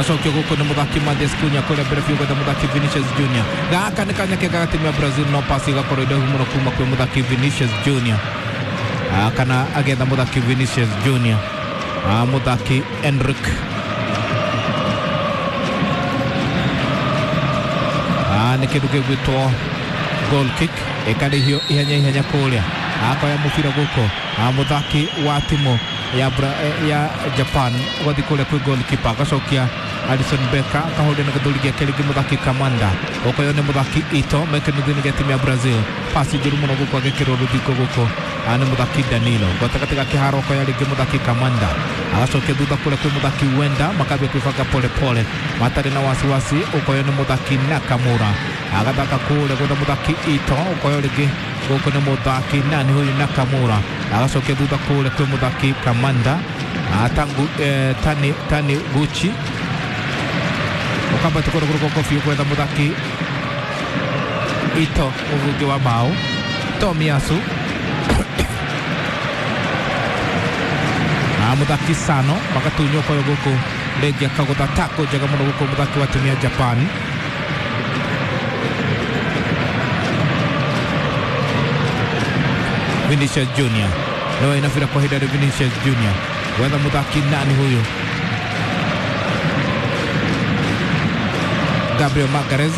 Gacokio gũkũ nĩ mũthaki Mathias Cunha kũrĩa mbere biũ gwetha mũthaki Vinicius Junior. Gaka nĩ kanya kega ga timu ya Brazil no pasi ĩgakorwo ĩndaihu mũno kuma kwĩ mũthaki Vinicius Junior. Kana agetha mũthaki Vinicius Junior. Mũthaki Enric. Nĩ kĩndũ gĩgwĩtwo goal kick ĩkarĩhio ihenya ihenya kũrĩa. Akoya mũbira gũkũ mũthaki wa timu ya, ya Japan ũgathiĩ kũrĩa kwĩ goalkeeper agacokia Alisson Becker akahũrĩra na gĩthũri gĩake rĩngĩ mũthaki Kamanda ũkoywo nĩ mũthaki Ito mekĩnuthu-inĩ gĩa timu ya Brazil. Pasi njũru mũno gũkũ agĩkĩrwo rũthingo gũkũ nĩ mũthaki Danilo gatagatĩ ga kĩharo ũkoya rĩngĩ mũthaki Kamanda agacokia thutha kũrĩa kwĩ mũthaki Wenda makambia kwĩbanga pole pole matarĩ na wasiwasi ũkoywo nĩ mũthaki Nakamura agathaka kũrĩa gwetha mũthaki Ito ũkoywo rĩngĩ gũkũ nĩ mũthaki nani huyu Nakamura agacokia thutha kũrĩa kwĩ mũthaki Kamanda tangu tani Gucci ũkambata kũrĩa kũrĩa biũ gwetha mũthaki Ito mũbungi wa bao Tomiyasu mũthaki Sano magatunywo koyo gũkũ rĩngĩ akagũtha tako njega mũno gũkũ mũthaki wa timu ya Japan. Vinicius Junior no inafira kwa ihinda rĩ Vinicius Junior gwetha mũthaki nani huyu Gabriel Magalhaes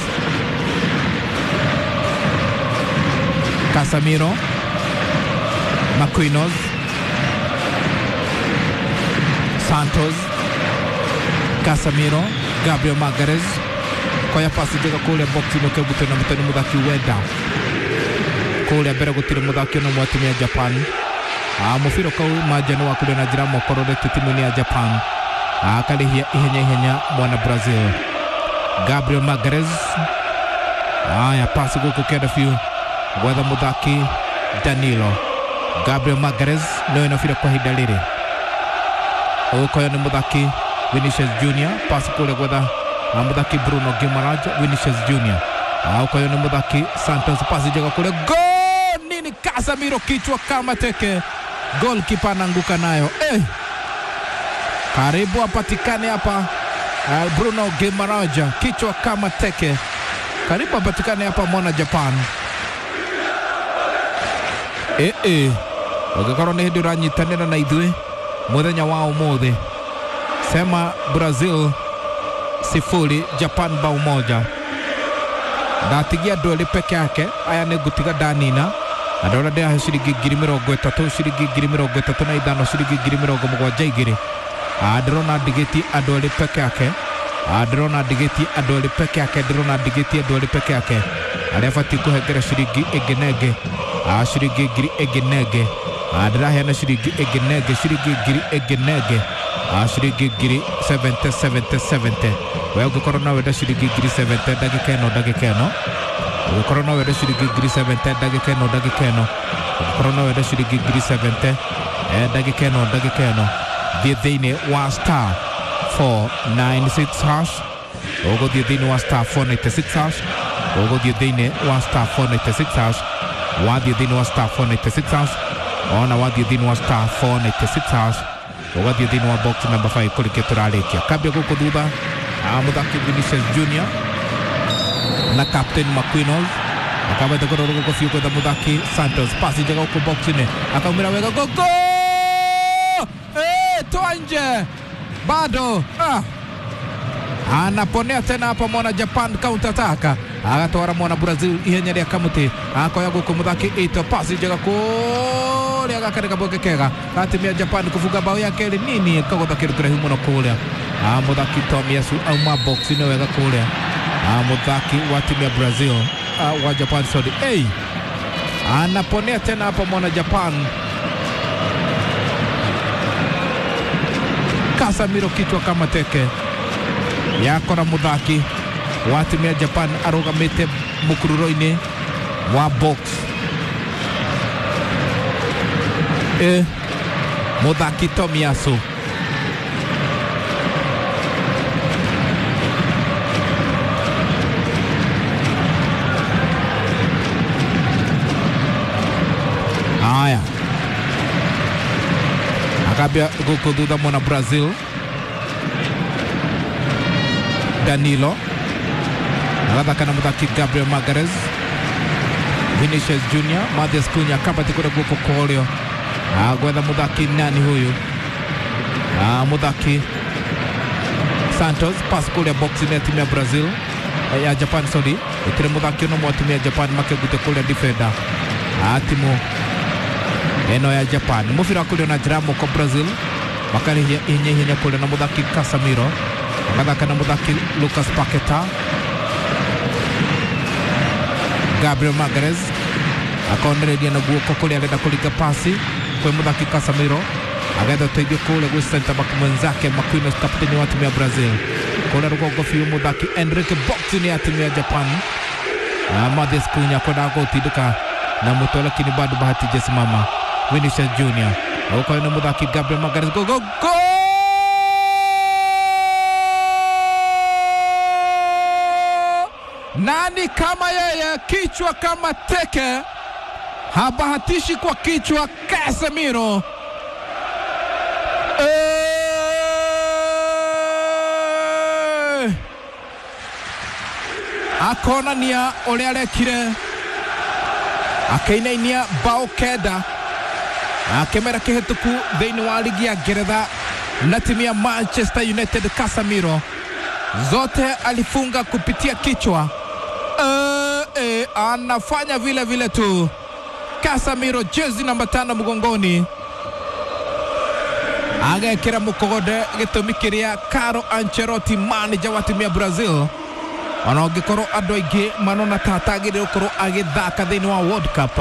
Casemiro Marquinhos Santos Casemiro Gabriel Magalhaes koya pasi njega kũrĩa box-inĩ ũkĩgutwo na mũtwe nĩ mũthaki Wenda kũrĩa mbere gũtirĩ mũthaki ona ũmwe wa timu ya Japan. Mũbira kau manja nĩ wakũrĩa na njĩra mokororete timu-inĩ ya Japan. Akarĩhia ihenya ihenya mwana Brazil Gabriel Magalhaes. Aya pasi gũkũ kenda biũ gwetha mũthaki Danilo. Gabriel Magalhaes nĩwe na bira kwa ihinda rĩrĩ. Ũkoyo nĩ mũthaki Vinicius Junior pasi kũrĩa gwetha mũthaki Bruno Guimaraes Vinicius Junior. Ũkoyo nĩ mũthaki Santos pasi njega kũrĩa goal nini Casemiro kichwa kama teke goalkeeper anaanguka nayo. Karibu apatikane hapa Bruno Guimaraes kichwa kama teke karibu apatikane hapa mwana Japan. Ũngĩkorwo nĩ hĩndĩ ũranyitanĩra na ithuĩ mũthenya wa ũmũthĩ sema Brazil 0 Japan bao 1. Ndatigia andũ erĩ peke yake aya nĩ ngũtiga ndanina andũ arĩa ndĩrahe ciringi 30,000 ciringi 35,000 ciringi 72,000. Ndĩrona ndigĩtie andũ erĩ peke yake ndĩrona ndigĩtie andũ erĩ peke yake ndĩrona ndigĩtie andũ erĩ peke yake arĩa batiĩ kũhengera ciringi ĩngĩ na ĩngĩ ciringi ngiri ĩngĩ na ĩngĩ ndĩraheana ciringi ĩngĩ na ĩngĩ ciringi ngiri ĩngĩ na ĩngĩ ciringi ngiri 70 70 70. We ũngĩkorwo no wende ciringi ngiri 70 ndagĩka ĩno ndagĩka ĩno ũngĩkorwo no wende ciringi ngiri 70 ndagĩka ĩno ndagĩka ĩno ũngĩkorwo no wende ciringi ngiri 70 ndagĩka ĩno ndagĩka ĩno thiĩ thĩinĩ wa star 496 hash ũgũthiĩ thĩinĩ wa star 496 hash ũgũthiĩ thĩinĩ wa star 496 hash wathiĩ thĩinĩ wa star 496 hash ona wathiĩ thĩinĩ wa star 496 hash ũgathiĩ thĩinĩ wa box number 5 kũrĩkia tũrarĩkia kambia gũkũ thutha mũthaki Vinicius Junior na captain Marquinhos akabete kũrora gũkũ biũ gwetha mũthaki Santos pasi njega gũkũ box-inĩ akaumĩra wega gogo toa nje bado anaponea tena hapa mwana Japan counter attack agatwara mwana Brazil ihenya rĩa kamuti akoya gũkũ mũthaki Ito pasi njega kũrĩa gaka kabweke kega gatimia Japan kufunga bao ya kerĩ nini kagũtha kĩndũ kĩraihu mũno kũrĩa mũthaki Tomiyasu auma box-inĩ wega kũrĩa mũthaki wa timu ya Brazil wa Japan sorry. Anaponea tena hapa mwana Japan Casemiro kichwa kama teke yakora mũthaki wa timu ya Japan arũgamĩte mũkururo-inĩ wa box. Mũthaki Tomiyasu haya akambia gũkũ thutha mwana Brazil Danilo agathaka na muthaki Gabriel Magalhaes, Vinicius Junior, Matheus Cunha kabati kũrĩa guoko kwa ũrĩo gwetha muthaki nani huyu, muthaki Santos, pass kũrĩa box-inĩ ya timu ya Brazil, ya Japan sorry, ĩtire muthaki ũno mwa timu ya Japan makĩgute kũrĩa defender timu ĩno ya Japan. Mũbira kũrĩa na njĩra ya moko Brazil makarĩhia ihenya ihenya kũrĩa na muthaki Casemiro, agathaka na muthaki Lucas Paqueta, Gabriel Magalhaes akonereria na guoko kũrĩa arenda kũringa pasi kwĩ muthaki Casemiro, agetha ũteithio kũrĩa gwĩ center back mwenzake Marquinhos, kapteni wa timu ya Brazil. Kũrĩa rũgongo biũ muthaki Enrique box-inĩ ya timu ya Japan, Matheus Cunha kwendaga gũtindĩka na mũtwe lakini bado bahati haijasimama. Vinicius Junior ũkorwo nĩ muthaki Gabriel Magalhaes, go go go! Nani kama yeye, kichwa kama teke, habahatishi kwa kichwa Casemiro. Akonania ũrĩa arekire, akĩinainia bao kenda akĩmera kĩhĩtũku thĩinĩ wa ligi ya Ngeretha na timu ya Manchester United. Casemiro zote alifunga kupitia kichwa. Anafanya vile vile tu Casemiro, jezi namba 5 mgongoni, agekĩra mũkogode gĩtũmi kĩrĩa Carlo Ancelotti manager wa timu ya Brazil ona ũngĩkorwo andũ aingĩ manona ta atagĩrĩire gũkorwo agĩthaka thĩinĩ wa World Cup,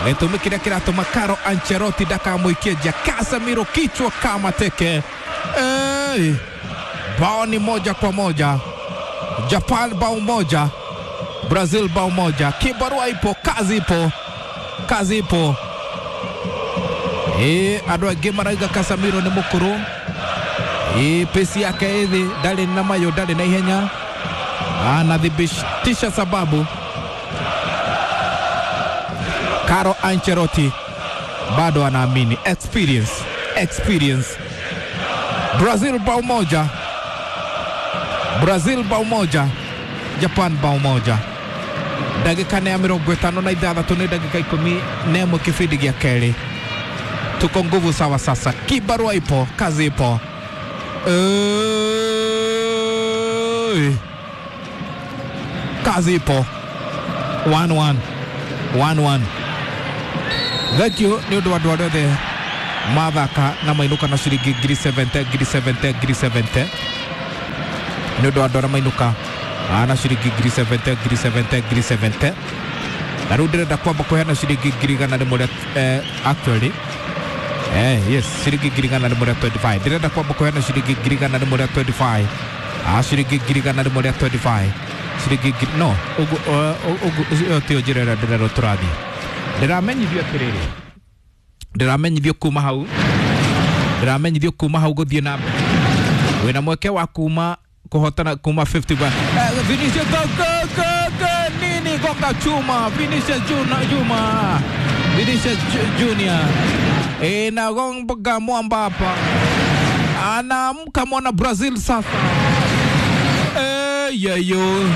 gĩtũmi kĩrĩa kĩratũma Carlo Ancelotti ndakamũikie nja. Casemiro kichwa kama teke. Bao ni 1-1, Japan bao 1, Brazil bao 1. Kibarua ipo, kazi ipo, kazi ipo. Andũ aingĩ marauga Casemiro nĩ mũkũrũ, pesi yake ĩthĩ, ndarĩ na mayũ, ndarĩ na ihenya, anathibitisha sababu Carlo Ancelotti bado anaamini experience, experience. Brazil bao 1, Brazil bao 1, Japan bao 1. Ndagĩka nĩ ya 56 nĩ ndagĩka 11 kĩbindi gĩa kerĩ. Tuko nguvu sawa sasa, kibarua ipo, kazi ipo. Kazi ipo. 1-1 1-1. Thank you nĩ ũndũ wa andũ arĩa othe mathaka na mainũka na ciringi ngiri 70 ngiri 70 ngiri 70. Nĩ ũndũ wa andũ arĩa mainũka na ciringi ngiri 70 ngiri 70 ngiri 70. Na rĩu ndĩrenda kwamba kũheana ciringi ngiri 100 actually yes, ciringi ngiri 125. Ndĩrenda kwamba kũheana ciringi ngiri 125. Ciringi ngiri 125. Ciringi ngiri no ũguo tio njĩra ĩrĩa ndĩrerwo tũrathiĩ. Ndĩramenyithio atĩrĩrĩ, ndĩramenyithio kuma hau, ndĩramenyithio kuma hau gũthiĩ na mbere wĩna mweke wa kuma kũhotana kuma 50 ba Vinicius go go go go, nini gonga chuma Vinicius Juma, Vinicius Junior inagonga mwamba hapa, anaamka mwana Brazil sasa. Yeyo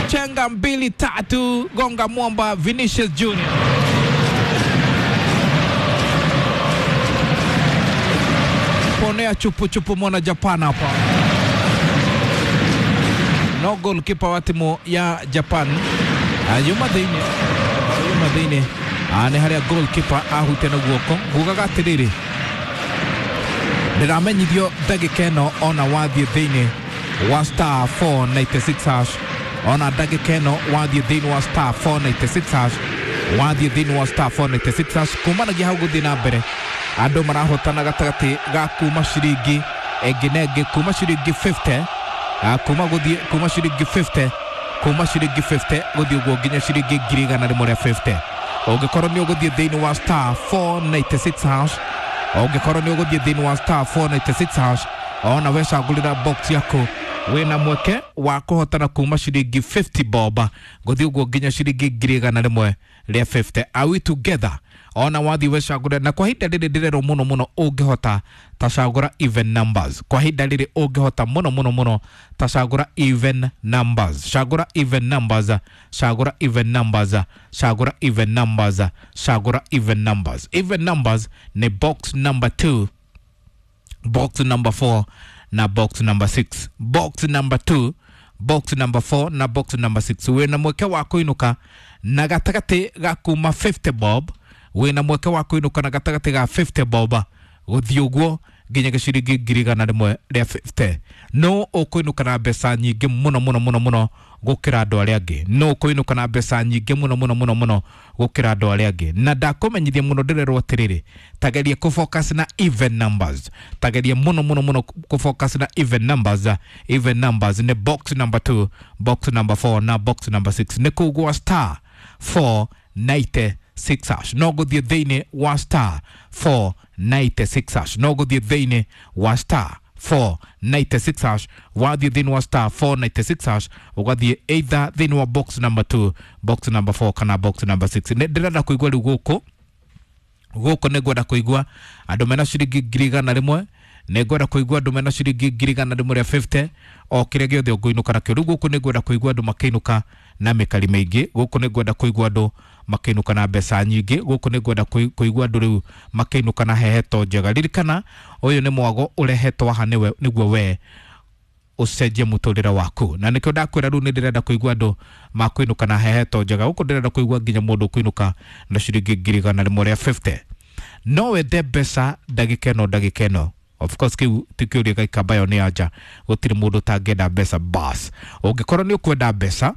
chenga 2 3, gonga mwamba Vinicius Junior. Ponea chupu chupu mwana Japan hapa. No goalkeeper wa timu ya Japan yuma thĩinĩ, yuma thĩinĩ nĩ harĩa goalkeeper ahute na guoko. Ngugaga atĩrĩrĩ, ndĩramenyithio ndagĩka ĩno ona wathiĩ thĩinĩ wa star 496 hash, ona ndagĩka ĩno wathiĩ thĩinĩ wa star 496 hash, wathiĩ thĩinĩ wa star 496 hash kumanagia hau gũthiĩ na mbere andũ marahotana gatagatĩ ga kuma ciringi ĩngĩ na ĩngĩ, kuma ciringi 50, kuma gũthiĩ kuma ciringi 50, kuma ciringi 50 gũthiĩ ũguo nginya ciringi 150. Ũngĩkorwo nĩ ũgũthiĩ thĩinĩ wa star 496 hash, ũngĩkorwo nĩ ũgũthiĩ thĩinĩ wa star 496 hash, ona wecagũrĩra box yaku wĩna mweke wa kũhotana kuma ciringi 50 bob gũthiĩ ũguo nginya ciringi 150. Are we together? Ona wathi wecagũre na kwa ihinda rĩrĩ ndĩrerwo mũno mũno ũngĩhota tacagũra even numbers. Kwa ihinda rĩrĩ ũngĩhota mũno mũno mũno tacagũra even numbers. Cagũra even numbers, cagũra even numbers, cagũra even numbers, cagũra even numbers. Even numbers ni box number 2, box number 4 na box number 6. Box number 2, box number 4 na box number 6. Wĩna mweke wa kũinũka na gatagatĩ ga kuma 50 bob. Wĩna mweke wa kũinũka na gatagatĩ ga 50 bob gũthiĩ ũguo nginya gĩciringi 100,000 rĩa 50. No ũkũinũka na mbeca nyingĩ mũno mũno mũno mũno gũkĩra andũ arĩa angĩ. No ũkũinũka na mbeca nyingĩ mũno mũno mũno mũno gũkĩra andũ arĩa angĩ. Na ndakũmenyithia mũno ndĩrerwo atĩrĩrĩ, tageria kũ focus na even numbers. Tageria mũno mũno mũno kũ focus na even numbers. Even numbers nĩ box number 2, box number 4 na box number 6. Nĩ kũu gwa star 496 hash. No gũthiĩ thĩinĩ wa star 496 hash. No gũthiĩ thĩinĩ wa star 496 hash. Wathiĩ thĩinĩ wa star 496 hash ũgathiĩ either thĩinĩ wa box number 2, box number 4 kana box number 6. Nĩ ndĩrenda kũigua rĩu gũkũ gũkũ nĩ ngwenda kũigua andũ mena ciringi 100,000. Nĩ ngwenda kũigua andũ mena ciringi 100,000 rĩa 50 o kĩrĩa gĩothe ũngĩinũka nakĩo. Rĩu gũkũ nĩ ngwenda kũigua andũ makĩinũka na mĩkari mĩingĩ. Gũkũ nĩ ngwenda kũigua andũ makĩinũka na mbeca nyingĩ. Gũkũ nĩ ngwenda kũigua andũ rĩu makĩinũka na heheto njega. Ririkana ũyũ nĩ mwago ũrehetwo haha nĩwe nĩguo we ũcenjie mũtũrĩre waku. Na nĩkĩo ndakwĩra rĩu nĩ ndĩrenda kũigua andũ makũinũka na heheto njega. Gũkũ ndĩrenda kũigua nginya mũndũ ũkũinũka na ciringi 100,000 rĩa 50. No wende mbeca ndagĩka ĩno ndagĩka ĩno. Of course kĩu ti kĩũria gĩikamba ĩyo nĩ anja. Gũtirĩ mũndũ ũtangĩenda mbeca bas. Ũngĩkorwo nĩ ũkwenda mbeca,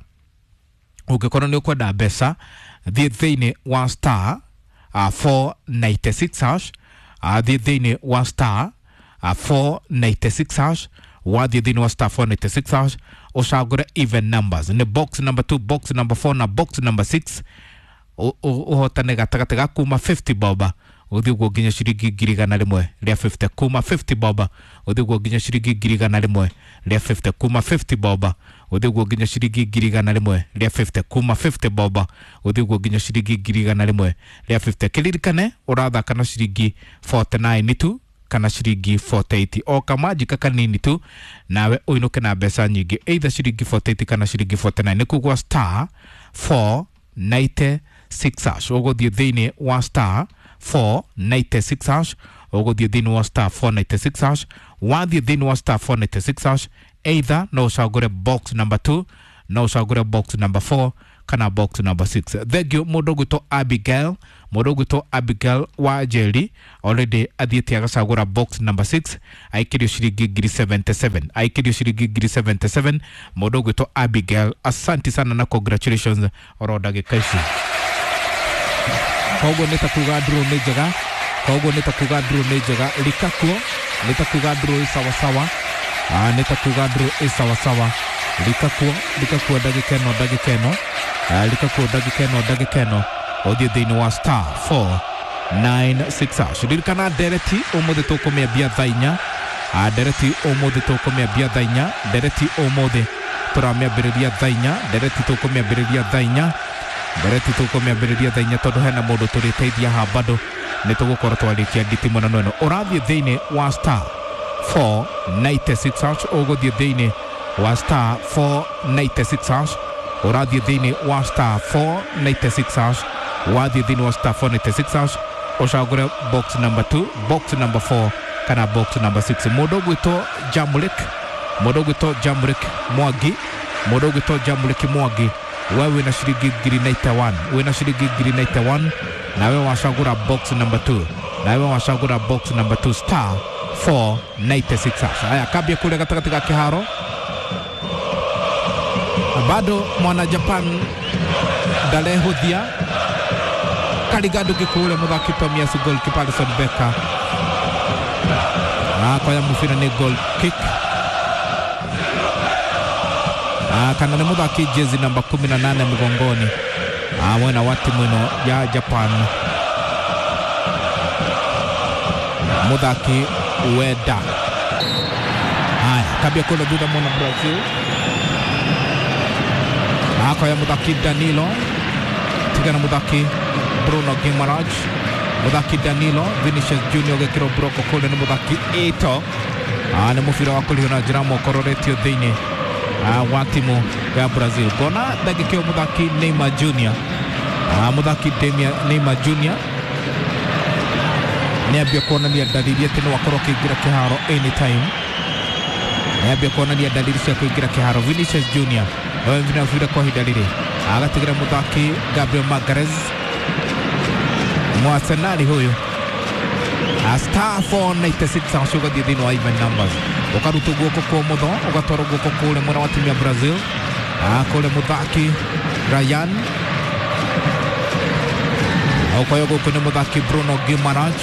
ũngĩkorwo nĩ ũkwenda mbeca, thiĩ thĩinĩ wa star 496 hash. Thiĩ thĩinĩ wa star 496 hash. Wathiĩ thĩinĩ wa star 496 hash ũcagũre even numbers. Nĩ box number 2, box number 4 na box number 6. Ũhotane gatagatĩ ga kuma 50 bob gũthiĩ ũguo nginya ciringi 100,000 rĩa 50. Kuma 50 bob gũthiĩ ũguo nginya ciringi 100,000 rĩa 50. Kuma 50 bob gũthiĩ ũguo nginya ciringi 100,000 rĩa 50. Kuma 50 bob gũthiĩ ũguo nginya ciringi 100,000 rĩa 50. Kĩririkane ũrathaka na ciringi 49 tu kana ciringi 48 o kamanjika kanini tu nawe ũinũke na mbeca nyingĩ either ciringi 48 kana ciringi 49. Nĩ kũgwa star 496 hash. Ũgũthiĩ thĩinĩ wa star 496 hash. Ũgũthiĩ thĩinĩ wa star 496 hash. Wathiĩ thĩinĩ wa star 496 hash either no ũcagũre box number 2, no ũcagũre box number 4 kana box number 6. Thank you mũndũ ũgwĩtwo Abigail. Mũndũ ũgwĩtwo Abigail wa Njeri already athiĩte agacagũra box number 6 aikĩrio ciringi 77,000 aikĩrio ciringi 77,000. Mũndũ ũgwĩtwo Abigail, asante sana na congratulations oro ndagĩka ici. Koguo nĩ ta kuga draw nĩ njega. Koguo nĩ ta kuga draw nĩ njega. Likakuo nĩ ta kuga draw ĩ sawasawa. Nĩ ta kuga draw ĩ sawasawa. Likakuo likakuo ndagĩka ĩno ndagĩka ĩno. Likakuo ndagĩka ĩno ndagĩka ĩno. Ũthiĩ thĩinĩ wa star 496 hash. Ririkana ndereti ũmũthĩ tũkũmĩambia thaa inya. Ndereti ũmũthĩ tũkũmĩambia thaa inya. Ndereti ũmũthĩ tũramĩambĩrĩria thaa inya. Ndereti tũkũmĩambĩrĩria thaa inya. Ndereti tũkũmĩambĩrĩria thaa inya tondũ hena mũndũ tũrĩteithia haha bado nĩ tũgũkorwo twarĩkia nditimũrano ĩno. Ũrathiĩ thĩinĩ wa star 496 hash. Ũgũthiĩ thĩinĩ wa star 496 hash. Ũrathiĩ thĩinĩ wa star 496 hash. Wathiĩ thĩinĩ wa star 496 hash ũcagũre box number 2, box number 4 kana box number 6. Mũndũ ũgwĩtwo Jamulek, mũndũ ũgwĩtwo Jamulek Mwangi, mũndũ ũgwĩtwo Jamulek Mwangi, we wĩna ciringi 91,000, wĩna ciringi 91,000 nawe wacagũra box number 2, nawe wacagũra box number 2 star 496 hash. Haya, kambia kule gatagatĩ ga kĩharo bado mwana Japan ndarehũthia. Karigado gĩkũũrĩa mũthaki Tomiyasu goalkeeper Alisson Becker akoya mũbira nĩ goal kick. Kana nĩ mũthaki jezi namba 18 mgongoni mwena wa timu ĩno ya Japan mũthaki Ueda. Haya, kabia kule thutha mwana Brazil akoya mũthaki Danilo tigana mũthaki Bruno Guimaraes. Muthaki Danilo Vinicius Junior gekirwo broko kũrĩa nĩ mũthaki Ito. Nĩ mũbira wa kũrihwo na njĩra mokororetio thĩinĩ wa timu ya Brazil. Ngona ndagĩka ĩyo mũthaki Neymar Junior, mũthaki Neymar Junior nĩambia kuonania dalili atĩ no akorwo akĩingĩra kĩharo anytime. Nĩambia kuonania dalili cia kũingĩra kĩharo. Vinicius Junior na mũbira kwa ihinda rĩrĩ agatigĩra mũthaki Gabriel Magalhaes, Mwarsenali huyu, star 496 acio ũgathiĩ thĩinĩ wa even numbers, ũkarutwo guoko kwa ũmotho ũgatwarwo guoko kũrĩa mwena wa timu ya Brazil, kũrĩa mũthaki Ryan, ũkoywo gũkũ nĩ mũthaki Bruno Guimaraes.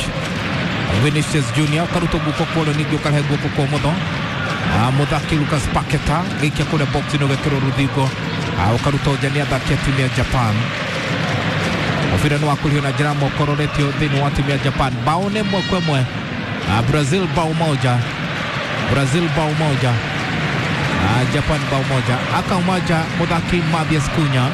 Vinicius Junior ũkarutwo guoko kwa ũrĩo ningĩ ũkarehe guoko kwa ũmotho, mũthaki Lucas Paqueta gĩikia kũrĩa box-inĩ ũgekĩrwo rũthingo, ũkarutwo nja nĩ athaki a timu ya Japan. Mũbira nĩ wakũrihwo na njĩra mokororetio thĩinĩ wa timu ya Japan. Bao nĩ 1-1, Brazil bao moja, Brazil bao moja, Japan bao moja. Akauma nja mũthaki Mathias Cunha.